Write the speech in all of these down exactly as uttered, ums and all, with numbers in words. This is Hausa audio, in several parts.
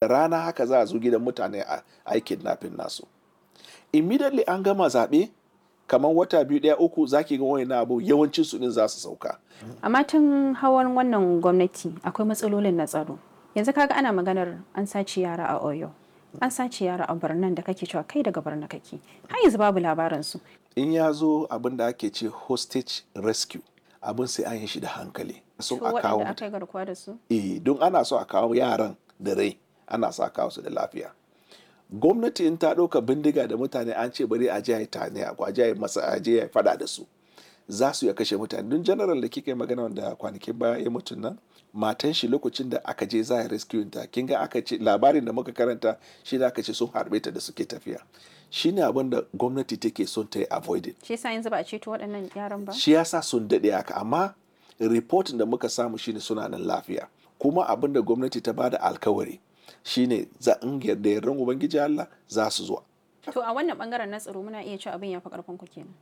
Da rana haka za a zo gidan mutane a yi kidnapping nasu. Immediately an gama zaɓe kamar wata biyu ɗaya uku za ki ga wayannan abu yawancin su ɗin za su sauka. Amma tun hawan wannan gwamnati akwai matsalolin na tsaro. Yanzu kaga ana maganar an sace yara a Oyo. An sace yara a Barnan da kake cewa kai daga Barna kake. Har yanzu babu labarin su. In ya zo abin da ake ce hostage rescue abin sai an yi shi da hankali. So To a kawo waɗanda aka yi garkuwa da su? Eh, don ana so a kawo yaran da rai, ana so a kawo su da lafiya. Gwamnati in ta ɗauka bindiga da mutane an ce bari a je a yi tane a je a yi masa a je a yi faɗa da su. Za su iya kashe mutane. Don general da kika yi magana wanda kwanakin baya ya mutu nan, matan shi lokacin da aka je za a yi rescue ta, kin ga aka ce labarin da muka karanta shi da aka ce sun harbe ta da suke tafiya. Shi ne abin da gwamnati take son ta yi avoiding. Shi yasa yanzu ba a ceto waɗannan yaran ba? Shi yasa sun daɗe haka amma reportin da muka samu shine suna nan lafiya. Kuma abin da gwamnati ta bada alkawari shine za in yarda yardan Ubangiji Allah za su zo. To a wannan bangaren na tsaro muna iya cewa abin ya fi ƙarfin ku kenan.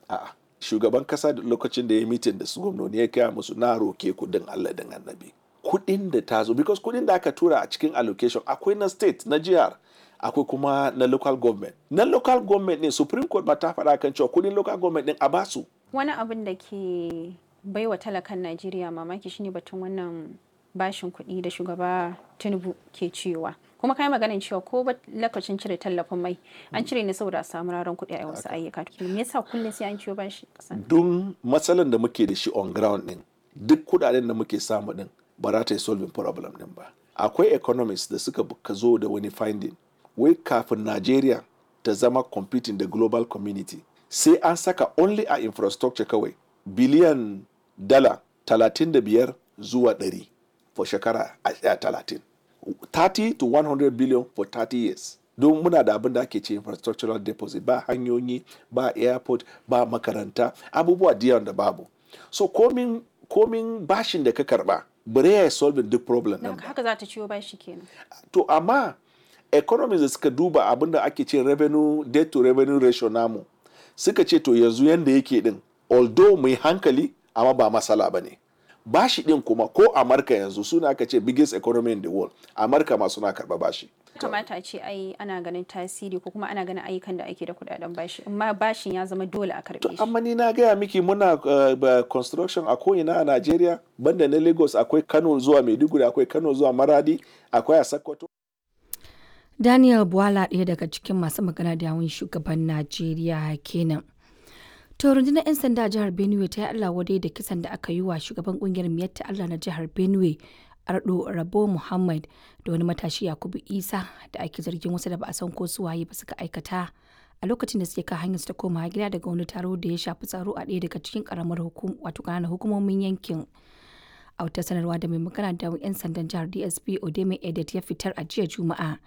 A'a, shugaban kasa da lokacin da ya mitin da su gwamnoni ya kaya musu na roke ku din Allah din annabi. Kuɗin da ta zo because kuɗin da aka tura a cikin allocation akwai na state na jihar akwai kuma na local government. Na local government ne Supreme Court ba ta faɗa kan cewa kuɗin local government din a basu. Wani abin da ke baiwa talakan Najeriya mamaki shine batun wannan bashin kuɗi da shugaba Tinubu ke ciyowa. Kuma kai maganin cewa ko ba lokacin cire tallafin mai an cire ne saboda a samu raran kuɗi a wasu ayyuka. Me yasa kullum sai an ciyo bashi ƙasa? Don matsalan da muke da shi on ground din duk kuɗaɗen da muke samu din ba za ta yi solving problem din ba. Akwai economists da suka ka zo da wani finding wai kafin Najeriya ta zama competing da global community sai an saka only a infrastructure kawai biliyan dala talatin da biyar zuwa ɗari for shekara a talatin. thirty to one hundred billion for thirty years. Don muna da abin da ake ce infrastructural deposit ba hanyoyi ba airport ba makaranta abubuwa da yawan da babu. So komin komin bashin da ka karba bare ya solving duk problem Don din ba. haka za ta ciyo bashi kenan. To amma economies da suka duba abin da ake ce revenue debt to revenue ratio namu suka ce to yanzu yanda yake din although mu yi hankali amma ba matsala ba ne. Bashi din kuma ko Amurka yanzu suna aka ce biggest economy in the world Amurka ma suna karba bashi. Kamata a ce ai ana ganin tasiri ko kuma ana ganin ayyukan da ake da kuɗaɗen bashi amma bashin ya zama dole a karɓe shi. Amma ni na gaya miki muna uh, ba- construction a ko'ina a Najeriya banda na Lagos akwai Kano zuwa Maiduguri akwai Kano zuwa Maradi akwai a Sokoto. Daniel Bwala ɗaya daga cikin masu magana da yawun shugaban Najeriya kenan. To rundunar 'yan sanda a jihar Benue ta yi Allah wadai da kisan da aka yi wa shugaban kungiyar Miyatta Allah na jihar Benue Ardo Rabo Muhammad da wani matashi Yakubu Isa da ake zargin wasu da ba a san ko su waye ba suka aikata a lokacin da suke kan hanyar su ta koma gida daga wani taro da ya shafi tsaro a ɗaya daga cikin karamar hukum wato ƙananan hukumomin yankin. A wata sanarwa da mai magana da 'yan sandan jihar D S P Odeme Edet ya fitar a jiya Juma'a.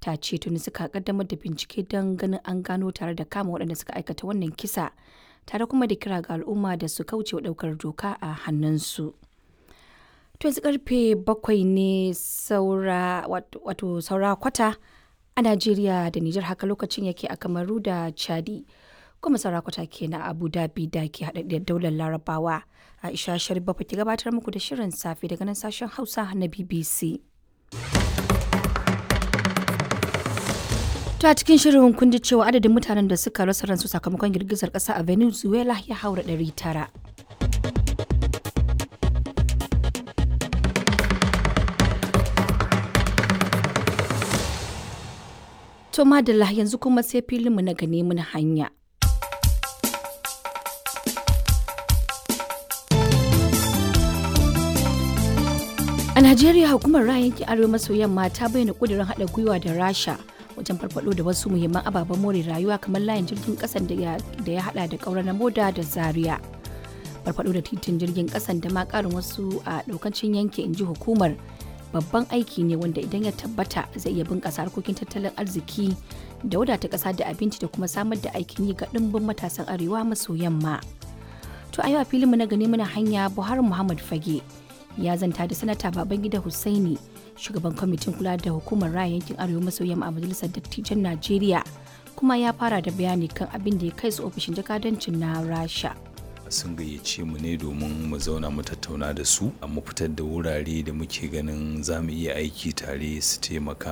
Ta ce tuni suka kaddamar da bincike don ganin an gano tare da kama waɗanda suka aikata wannan kisa tare kuma da kira ga al'umma da su kauce wa ɗaukar doka a hannunsu. To yanzu karfe bakwai ne saura wato saura kwata a Najeriya da Nijar, haka lokacin yake a Kamaru da Chadi. Kuma saura kwata kenan a Abu Dhabi da ke haɗaɗɗiyar daular Larabawa. Aisha Sharif Bafa ke gabatar muku da shirin safe daga nan sashen Hausa na B B C. To a cikin shirin kun ji cewa adadin mutanen da suka rasa ransu sakamakon girgizar ƙasa a Venezuela ya haura ɗari tara. To madalla, yanzu kuma sai filinmu na gane mun hanya. A Najeriya, hukumar ra'ayin yankin Arewa maso yamma ta bayyana kudirin haɗa gwiwa da Rasha wajen farfado da wasu muhimman ababen more rayuwa kamar layin jirgin ƙasan da ya da ya haɗa da ƙaura na Moda da Zaria. Farfado da titin jirgin ƙasan da ma ƙarin wasu a ɗaukancin yanki, in ji hukumar, babban aiki ne wanda idan ya tabbata zai iya bunƙasa harkokin tattalin arziki da wadata ƙasa da abinci da kuma samar da aikin yi ga ɗimbin matasan Arewa maso yamma. To a yau a filinmu na gani muna hanya, Buhari Muhammad Fage ya zanta da Sanata Babangida Hussaini, shugaban kwamitin kula da hukumar raya yankin Arewa maso yamma a Majalisar Dattijan Najeriya, kuma ya fara da bayani kan abin da ya kai su ofishin jakadancin na Rasha. Sun gayyace mu ne domin mu zauna mu tattauna da su, mu fitar da wurare da muke ganin za mu iya aiki tare su taimaka.